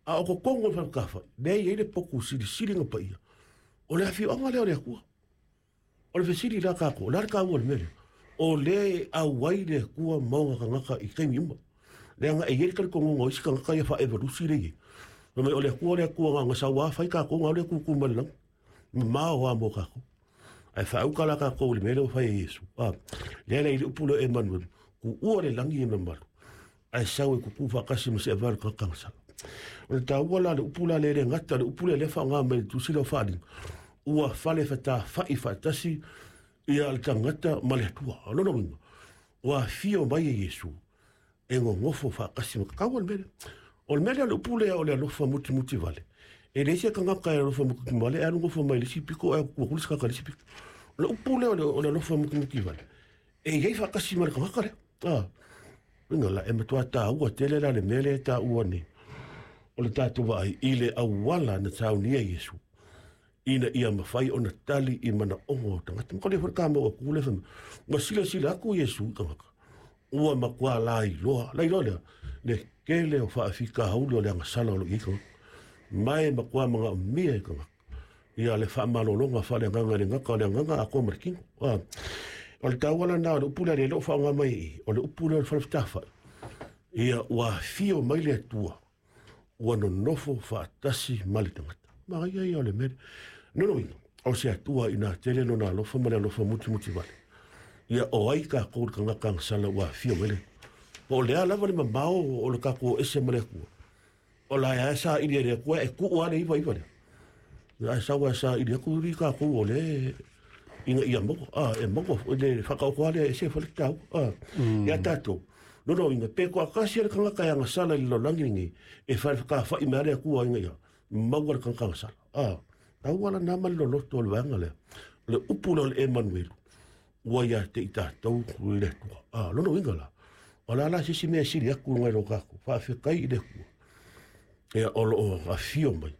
A o totonu o le fale fetāfa'i lea e i ai le potu silisili ona paia, o le afioaga lea o le Atua. O le fesili la a tatou, o le a le taua o le mea lea? O lea e auai le Atua ma ona tagata i taimi uma. Leaga e i ai le talitonuga o isi tagata ia faaevolusi lea e i ai. Fai mai o le Atua le Atua na ona sau lava fai tatou ona alu lea tutu mai le lagi. Mamao lava mo tatou. Ae faauta la tatou i le mea lea ua fai e Iesu. Lea la i le upu lea o Emanuelu, tuua le lagi e mamalu, ae sau e tutu faatasi ma se avea o le tagata agasala. O le taua la o le upu la lea e le gata, o le upu lea lea e faaaoga mai i le tusi lea o Faaaliga, ua fale fetafa'i faatasi ia le tagata ma le Atua. O lona uiga, ua afio mai e Iesu e nonofo faatasi ma taua le mea lea. O le mea lea o le upu lea o le alofa mutimuti vale. E leai se tagata e alofa mutimuti vale e alu nofo mai le isi pito ae tuu atu le isi tagata i le isi pito. O le upu lea o le alofa mutimuti vale, e i ai faatasi ma le tagata lea. Uiga la, e matua taua tele la le mea lea e taua nei. O le tatou vaai i le auala na saunia e Iesu ina ia mafai ona tali i manaoga o tagata. Ma koli foi le kamau atu le fai mai, ua silasila atu Iesu i tagata, ua matua lailoa, lailoa lea, le tele o faafitauli o le agasala o lo o i ai tagata. Ma e matua manaomia e tagata ia le faamalologa faaleagaga e le gata o le agaga atoa ma le tino. O le taua lena o le upu lea le o faaaoga mai i i, o le upu lea o le fale fetafa'i, ia ua afio mai le Atua, ua nonofo faatasi ma le tagata. Manaia ia o le mea lea. Lona uiga, o se Atua ina tele lona alofa ma le alofa mutimuti vale. Ia o ai tatou le tagata agasala ua afio mai le Atua. Po o le a lava le mamao o le tatou o ese ma le Atua, o la e saili e le Atua e tuu lava le 99 lea. Ae sau ae saili atu i tatou o lea ina ia maua, e maua foi le faataoto lava lea e ese foi le taua. Ia tatou, lona uiga, pe toatasi le tagata e agasala i le lalolagi lenei, e fale fetafa'i mai lava le Atua ina ia maua le tagata agasala. Taua lena ma le loloto o le vaega lea. O le upu lea o le Emanuelu, ua ia te i tatou le Atua. Lona uiga la, o le a la se isi mea e sili atu nai lo tatou, faafetai i le Atua. Ia o lo o afio mai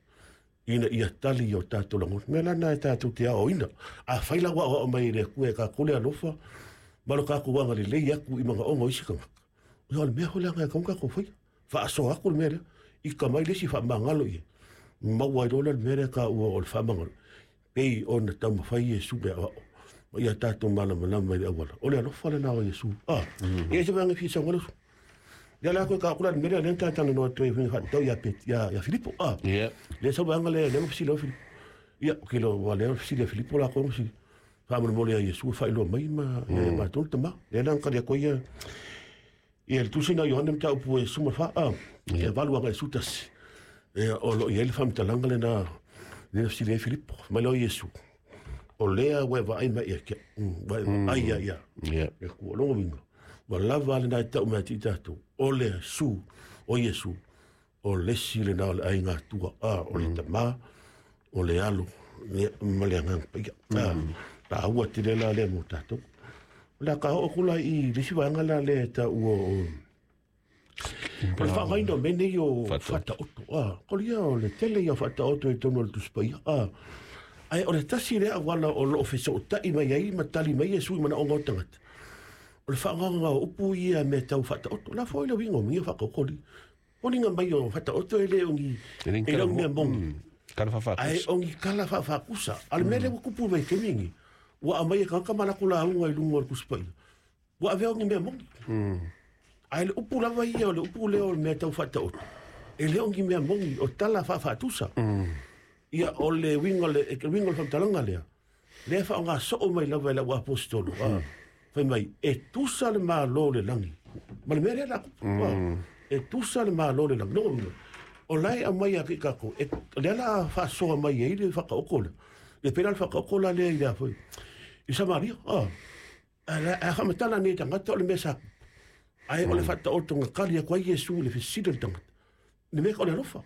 ina ia tali i o tatou lagona. Mea la na e tatou te aoaoina. Afai la ua aoao mai e le Atua e tatou le alofa ma lo tatou agalelei atu i manaoga o isi tagata, ia o le mea foi lea e tatau ona tatou faia. Faasoa atu le mea lea, ita mai le isi faamagalo i ai, maua ai loa lea le mea lea e taua o le faamagalo, pei ona taumafai Iesu e aoao ma ia tatou malamalama i le auala. O le alofa lena o Iesu. Ia se vaega e fia saunoa le uso. Lea la koe ka kula le mea lea lea na talanoa atu ai faatatau ia Pet ia Filipo. Lea sau vaega lea lea na fesili ai Filipo. Ia, o kilo ua lea fesili ia Filipo la koe fesili. Faamolemole ia Iesu e faailoa mai ma ia matou le tama. Lea la na tali atu ai ia ia le tusi na Ioane mataupu e 14, e 8 agai 11. Ia, o lo o i ai le faamatalaga lena lea na fesili ai Filipo. Fai mai lea o Iesu, o lea ua e vaai mai ia te au, ua e vaai ia ia. E ku o lona uiga, ua lava lena e tau mai ia te i tatou, o le Iesu, o Iesu, o le isi lena o le aiga Atua, o le Tama, o le Alo, ia, ma le Agaga Paia. Taua tele la lea mo tatou. O le a ka oo atu la i le isi vaega la lea e taua o o le faaaogaina o mea nei o faataoto. Kolia o le tele ia o faataoto i totonu o le Tusi Paia. Ae o le tasi lea auala o lo o fesootai mai ai ma tali mai Iesu i manaoga o tagata, o le faaaogaina o upu ia mea tau faataoto. La foi le uiga o mea faataoto li. Foliga mai o faataoto e le o ni e le o ni mea moni. Kala faafakusa. Ae o ni kala faafakusa. A o le mea lea ua tupu mai i le taimi lenei, ua aumai e tagata ma latou lauga i luga o le Tusi Paia, ua avea o ni mea moni. Ae le upu lava ia o le upu lea o le mea tau faataoto, e le o ni mea moni, o tala faafaatusa. Ia o le uiga o le uiga o le faamatalaga lea, lea e faaaoga soo mai lava e lau aposetolo, fai mai, e tusa le Malo o le lagi ma le mea lea la tupu. E tusa le Malo o le lagi. Lona uiga, o la e aumai ia te i tatou, e, lea la faasoa mai ai le faataoto lea. E pei la le faataoto la lea i le a foi, i Samaria. Ae faamatala nei tagata o le mea sa tupu. Ae o le faataotoga tali atu ai Iesu i le fesili a le tagata. Le mea o le alofa.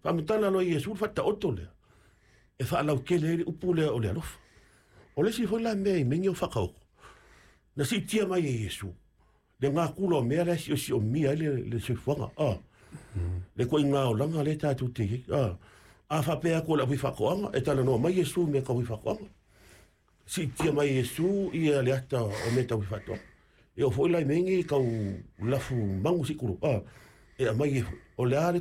Faamatala loa Iesu le faataoto lea, e faalautele ai le upu lea o le alofa. O le isi foi la mea i mea nei o faataoto, na siitia mai e Iesu le gakula o mea la e siosiomia ai le soifuaga. Le ituaiga olaga lea tatou te i ai. A faapea atu o le aufaifaatoaga, e talanoa mai Iesu i mea tau faifaatoaga. Siitia mai e Iesu ia le ata o mea tau faatoaga. E oo foi la i mea nei tau lafu magu se i tulou, e aumai e foi. O le a le